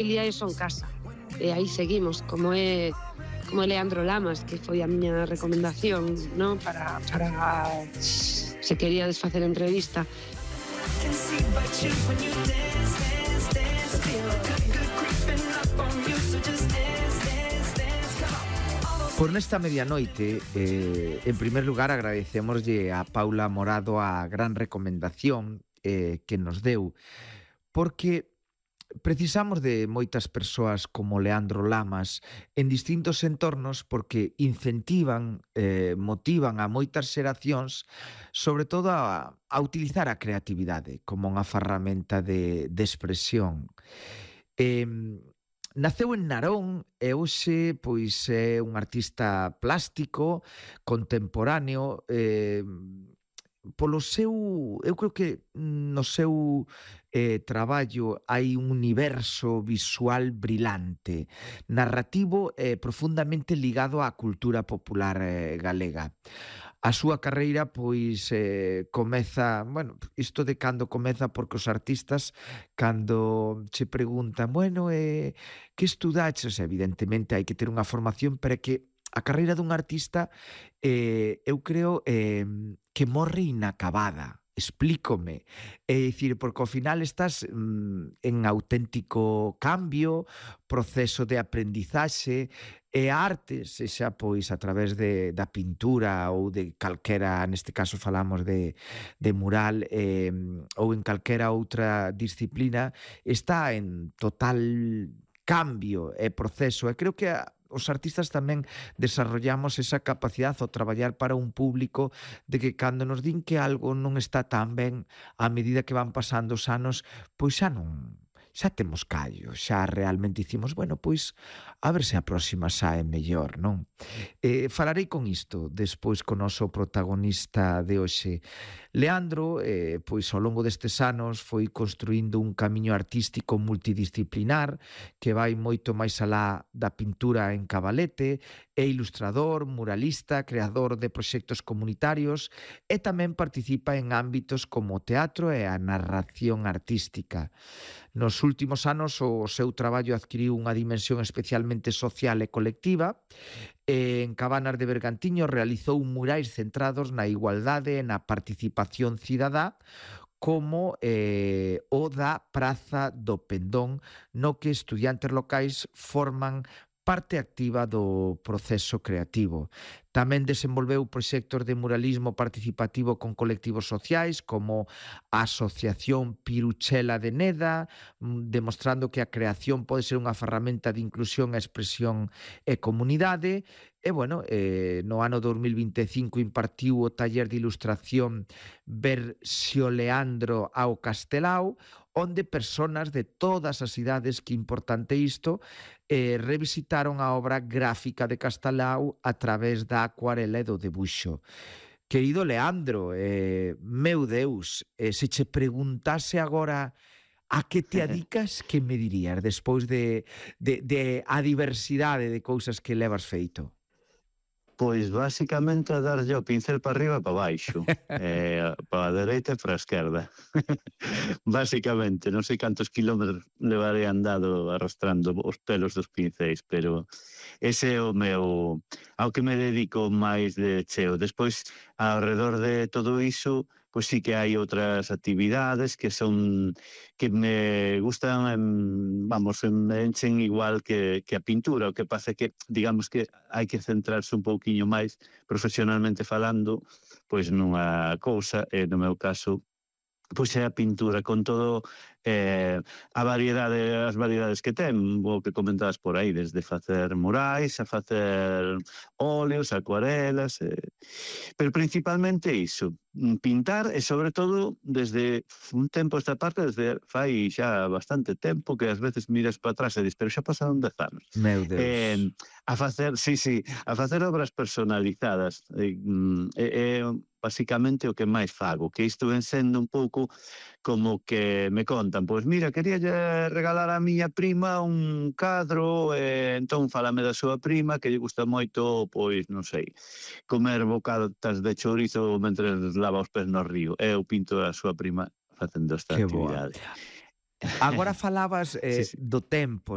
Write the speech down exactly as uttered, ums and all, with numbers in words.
familia e son casa. E aí seguimos, como é como é Leandro Lamas, que foi a miña recomendación, ¿no? para, para se queríades facer entrevista. Por nesta medianoite, eh, en primer lugar agradecemoslle a Paula Morado a gran recomendación eh, que nos deu, porque precisamos de moitas persoas como Leandro Lamas en distintos entornos porque incentivan, eh, motivan a moitas xeracións sobre todo a, a utilizar a creatividade como unha ferramenta de, de expresión. Eh, Naceu en Narón e hoxe pois é un artista plástico, contemporáneo, eh, polo seu, eu creo que no seu eh, traballo hai un universo visual brilante, narrativo e profundamente ligado á cultura popular eh, galega. A súa carreira pois eh, comeza, bueno, isto de cando comeza porque os artistas cando che preguntan, bueno, eh, que estudaches? Evidentemente hai que ter unha formación, pero é que a carreira dun artista eh, eu creo eh, que morre inacabada. Explícome. É dicir, porque ao final estás mm, en auténtico cambio, proceso de aprendizaxe, e a arte, sexa pois a través de, da pintura ou de calquera, neste caso falamos de, de mural, eh, ou en calquera outra disciplina, está en total cambio e proceso. E creo que a, os artistas tamén desarrollamos esa capacidade ao traballar para un público de que cando nos din que algo non está tan ben, a medida que van pasando os anos, pois xa non, xa temos callo, xa realmente dicimos, bueno, pois a ver se a próxima sae mellor, non? Eh, falarei con isto despois co noso protagonista de hoxe. Leandro, eh, pois ao longo destes anos foi construindo un camiño artístico multidisciplinar que vai moito máis alá da pintura en cabalete, é ilustrador, muralista, creador de proxectos comunitarios e tamén participa en ámbitos como o teatro e a narración artística. Nos últimos anos o seu traballo adquiriu unha dimensión especialmente social e colectiva. En Cabanas de Bergantiño realizou murais centrados na igualdade e na participación cidadá, como eh, o da Praza do Pendón, no que estudiantes locais forman parte activa do proceso creativo. Tamén desenvolveu proxectos de muralismo participativo con colectivos sociais como a Asociación Piruchela de Neda, demostrando que a creación pode ser unha ferramenta de inclusión, expresión e comunidade. E, bueno, eh, no ano dos mil vinte e cinco impartiu o taller de ilustración Versioleandro ao Castelao, onde personas de todas as idades, que importante isto, eh, revisitaron a obra gráfica de Castelao a través da acuarela e do debuxo. Querido Leandro, eh, meu Deus, eh, se che preguntase agora a que te adicas, que me dirías despois de, de, de a diversidade de cousas que levas feito? Pois, basicamente, a darlle o pincel para arriba e para baixo, eh, para a dereita e para a esquerda. Basicamente, non sei cantos kilómetros levaré andado arrastrando os pelos dos pincéis, pero ese é o meu, ao que me dedico máis de cheo. Despois, ao redor de todo iso, pois sí que hai outras actividades que son que me gustan, em, vamos, me enchen igual que, que a pintura, o que pasa que, digamos que hai que centrarse un pouquiño máis profesionalmente falando, pois nunha cousa, e no meu caso, pois é a pintura, con todo eh, a variedade, as variedades que ten, o que comentabas por aí, desde facer murais, a facer óleos, acuarelas, eh, pero principalmente iso, pintar, e sobre todo desde un tempo esta parte, desde fai xa bastante tempo, que ás veces miras para atrás e dis, pero xa pasaron dez anos. Meu Deus. Eh, a facer, sí, sí, a facer obras personalizadas, e eh, eh, basicamente o que máis fago, que isto ven sendo un pouco como que me contan, pois mira, quería regalar a miña prima un cadro, e entón falame da súa prima, que lle gusta moito, pois non sei, comer bocatas de chourizo mentre lava os pés no río, e eu pinto a súa prima facendo esta Que actividade. boa. Agora falabas eh, sí, sí. do tempo,